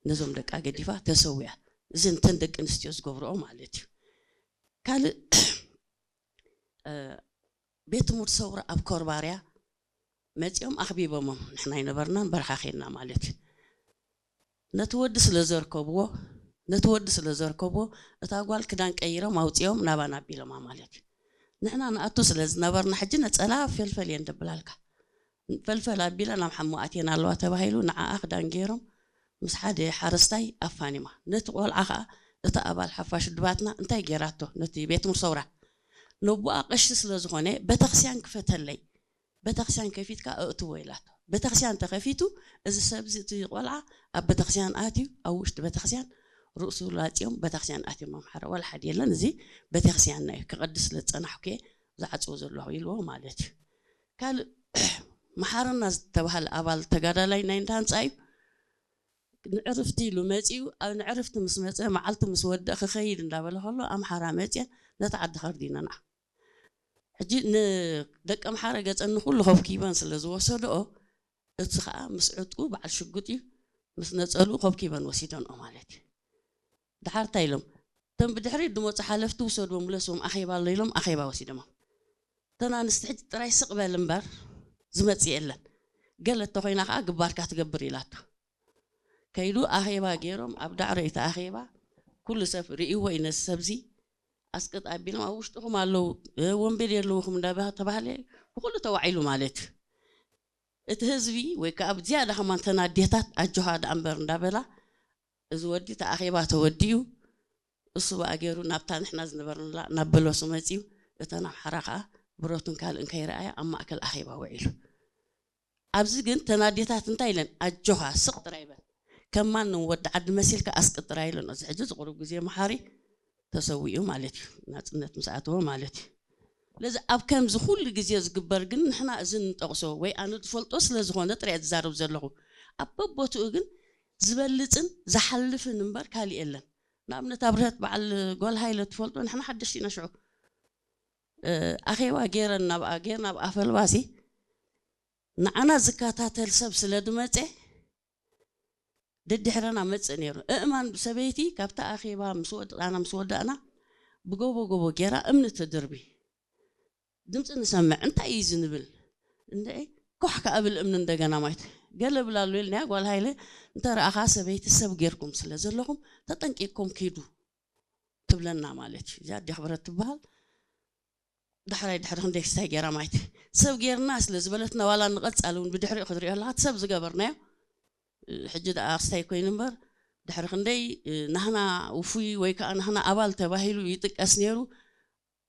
ነዞም ደቃ ገዲፋ ተሰዊኣ። እዚ እንተን ደቂ ኣንስትዮ ዝገብርኦ ማለት እዩ። ካልእ ቤት ትምህርቲ ሰውራ ኣብ ኮርባርያ መጺኦም ኣኽቢቦሞም፣ ንሕና ኣይነበርናን በረኻ ኬድና ማለት እዩ። ነቲ ወዲ ስለ ዘርከብዎ ነቲ ወዲ ስለ ዘርከብዎ እታ ጓል ክዳን ቀይሮም ኣውጺኦም ናባና ኣቢሎማ ማለት እዩ። ንሕና ንኣቱ ስለ ዝነበርና ሕጂ ነጸላ ፈልፈል እየን ደብላልካ ፈልፈል ኣቢላ ናብ ሓሞ ኣትየን ኣለዋ ተባሂሉ ንዓኣ ክዳን ገይሮም ምስ ሓደ ሓረስታይ ኣፋኒማ። ነቲ ቆልዓ ኸኣ እታ ኣባል ሓፋሽ ድባትና እንታይ ገይራቶ ነቲ ቤት ትምህርቲ ሰውራ ነቦኣ ቀሺ ስለ ዝኾነ ቤተክስያን ክፈተለይ ቤተክስያን ከፊትካ ኣእትዎ ኢላቶ። ቤተክስያን ተኸፊቱ እዚ ሰብዚ እቲ ቆልዓ ኣብ ቤተክስያን ኣትዩ ኣብ ውሽጢ ቤተክስያን ርእሱ ላጽዮም ቤተክስያን ኣትዮም ኣምሓራ ዋላ ሓደ የለን። እዚ ቤተክስያንና እዩ ክቐድስ ስለ ዝጸናሕኩ እየ ዝዓጽዎ ዘለኹ ኢልዎ ማለት እዩ። ካልእ መሓረና ዝተባህለ ኣባል ተጋዳላይ ናይ እንዳ ህንጻ እዩ። ንዕርፍቲ ኢሉ መጺኡ ኣብ ንዕርፍቲ ምስ መጸ መዓልቲ ምስ ወደእ ክኸይድ እንዳበለ ከሎ ኣምሓራ መጽየን ነቲ ዓዲ ከርዲነንኣ ሕጂ ንደቂ ኣምሓረ ገጸን ንኹሉ ከብኪበን ስለ ዝወሰድኦ እቲ ኸኣ ምስ ዕጥቁ በዓል ሽጉጥ እዩ ምስ ነጸልኡ ከብኪበን ወሲደንኦ ማለት እዩ። ድሓር እንታይ ኢሎም እቶም ብድሕሪት ዝመጹ ሓለፍቲ ውሰድዎም ምለስዎም ኣኼባ ኣሎ ኢሎም ኣኼባ ወሲዶሞም። እተን ኣንስቲ ሕጂ ጥራይ ስቕ በል እምበር ዝመጽእ የለን ገለ እተኾይና ኸኣ ግባርካ ትገብር ኢላቶ። ከይዱ ኣኼባ ገይሮም ኣብ ዳዕሮ እቲ ኣኼባ ኩሉ ሰብ ርእይዎ እዩ ነዚ ሰብዚ ኣስቅጥ ኣቢሎም ኣብ ውሽጥኹም ኣለዉ ወንበዴ ኣለውኹም እንዳተባህለ ብኩሉ ተዋዒሉ ማለት እዩ። እቲ ህዝቢ ወይ ከዓ ዝያዳ ከማን ተን ኣዴታት ኣጆኻ ደኣ እምበር እንዳበላ እዚ ወዲ እቲ ኣኼባ ተወዲኡ እሱ ብኣ ገይሩ ናብታ ንሕና ዝነበርንላ ናብ በለሱ መፂኡ እተን ኣምሓራ ከዓ ብረቱን ካልእን ከይረኣያ ኣብ ማእከል ኣኼባ ውዒሉ። ኣብዚ ግን ተን ኣዴታት እንታይ ኢለን ኣጆኻ ስቕ ጥራይ በል ከም ማንም ወዲ ዓዲ መሲልካ ኣስቅጥ ጥራይ ኢለን። እዚ ሕጂ ዝቕሩብ ግዜ መሓሪ ተሰዊኡ ማለት እዩ ናፅነት ምስ ኣተወ ማለት እዩ። ስለዚ ኣብ ከምዚ ኩሉ ግዜ ዝግበር ግን ንሕና እዚ ንጠቕሶ ወይ ኣነ ዝፈልጦ ስለ ዝኾነ ጥራይ ዝዛረብ ዘለኹ ኣብ በቦትኡ ግን ዝበልፅን ዝሓልፍን እምበር ካሊእ የለን። ንኣብነት ኣብርሀት በዓል ጓል ሃይለ ትፈልጦ ንሕና ሓደሽቲ ኢና ሽዑ ኣኼባ ገይረን ናብኣ ገይርና ኣብ ኣፈልባሲ ንዓና ዝከታተል ሰብ ስለ ዝመፀ ደድሕረና መፅእ ነይሩ። እእማን ሰበይቲ ካብቲ ኣኼባ ምስ ወድኣና ምስ ወዳእና ብጎቦ ጎቦ ገይራ እምኒ ትድርቢ። ድምፂ ንሰምዕ እንታይ እዩ ዝንብል እንደ ኮሕ ከኣ ብል እምኒ እንደገና ማይት ገለ ብላሉ ኢልናያ ጓል ሃይለ እንተ ረኣኻ ሰበይቲ ሰብ ጌርኩም ስለ ዘለኹም ተጠንቂቅኩም ኪዱ ትብለና ማለት እዩ። እዚኣ ኣዲ ክብረት ትበሃል። ዳሕራይ ድሕሪ ክንደይ ክስታይ ገይራ ማይት ሰብ ጌርና ስለ ዝበለትና ዋላ ንቐጻሊ እውን ብድሕሪኡ ክትሪኦ ኣለካ እቲ ሰብ ዝገበርናዮ ሕጂ ደኣ ክስታይ ኮይኑ እምበር ድሕሪ ክንደይ ናህና ውፉይ ወይ ከዓ ናህና ኣባል ተባሂሉ ይጥቀስ ነይሩ።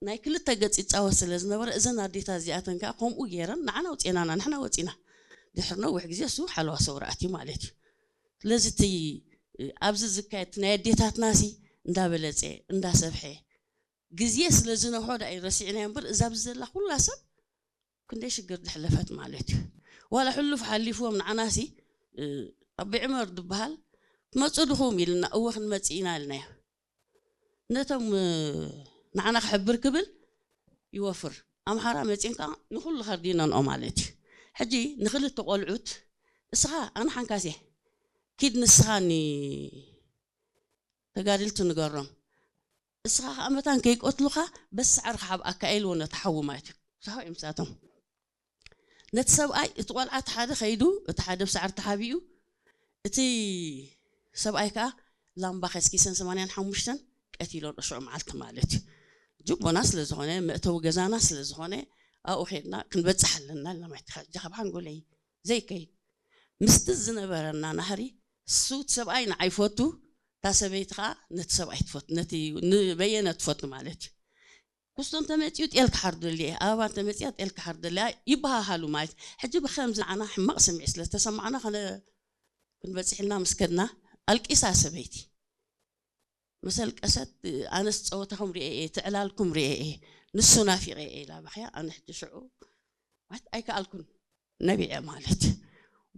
ናይ ክልተ ገጽ ይጻወት ስለ ዝነበረ እዘን ኣዴታት እዚኣተን ከዓ ከምኡ ገይረን ንዓና ውፅኤናና ንሕና ወፂና ድሕሪ ነዊሕ ግዜ እሱ ሓለዋ ሰውራ ኣትዩ ማለት እዩ። ስለዚ እቲ ኣብዚ ዝካየድ ናይ ኣዴታትና ሲ እንዳበለፀ እንዳሰብሐ ግዜ ስለ ዝነውሖ ዳ እዩ ረሲዕናዮ እምበር እዛ ኣብዚ ዘላ ኩላ ሰብ ክንደይ ሽግር ዝሕለፈት ማለት እዩ። ዋላ ሕሉፍ ሓሊፍዎም ንዓናሲ ኣቢ ዕመር ዝበሃል ትመፁ ድኹም ኢልና እወ ክንመፅእ ኢና ኢልናዮ። ነቶም ንዓና ክሕብር ክብል ይወፍር ኣምሓራ መፂንካ ንኩሉ ከርዲነንኦ ማለት እዩ። ሕጂ ንክልተ ቆልዑት እስኻ ኣነ ሓንካሴ ኪድ ንስኻኒ ተጋድልቲ ንገሮም እስኻ ከዓ መታን ከይቀትሉኻ በስዓር ክሓብኣካ ኢልዎ ነቲ ሓዊ ማለት እዩ። ዝሓው እዮም ንሳቶም ነቲ ሰብኣይ እቲ ቆልዓ እቲ ሓደ ከይዱ እቲ ሓደ ብሳዕሪ ተሓቢኡ እቲ ሰብኣይ ከዓ ላምባ ከስኪሰን ሰማንያን ሓሙሽተን ቀቲሎን እሽዑ መዓልቲ ማለት እዩ። ጅቦና ስለ ዝኾነ መእተዊ ገዛና ስለ ዝኾነ ኣብኡ ከድና ክንበፅሕ ኣለና ኢልና ማለት እዩ። ካብ ሓንጎለይ ዘይከይድ ምስቲ ዝነበረና ናህሪ እሱ እቲ ሰብኣይ ንዓይ ይፈቱ እታ ሰበይቲ ከዓ ነቲ ሰብኣይ ትፈቱ ነቲ ንበየነ ትፈቱ ማለት እዩ። ኩስቶ እንተመፅኡ ጤል ክሓርደሉ እየ ኣበባ እንተመፅኣ ጤል ክሓርደሉ እያ ይበሃሃሉ ማለት እዩ። ሕጂ ብከምዚ ንዓና ሕማቕ ስምዒት ስለ ዝተሰማዕና ከነ ክንበፅሕ ኢልና ምስ ከድና ኣልቂሳ ሰበይቲ መሰልቀሰት ኣነስ ፀወታኹም ሪኤ እየ ትዕላልኩም ሪኤ እየ ንሱ ናፊቐ እየ ኢላ በኽያ ኣነ ሕጂ ሽዑ ማለት ኣይከኣልኩን ነቢዐ ማለት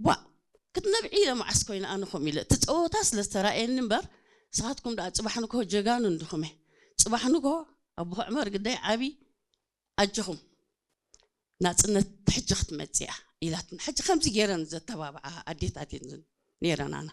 ዋ ክትነብዒ ኢለ መዓስ ኮይነ ኣነ ከምኡ ኢለ እቲ ፀወታ ስለ ዝተራእየኒ እምበር ንስኻትኩም ደኣ ፅባሕ ንግሆ ጀጋኑ እንድኹም እየ ፅባሕ ንግሆ ኣቦ ዕመር ግዳይ ዓብዪ ኣጆኹም ናፅነት ሕጂ ክትመፅእ እያ ኢላትና ሕጂ ከምዚ ገይረን ዘተባብዓ ኣዴታት እየን ነይረን ኣና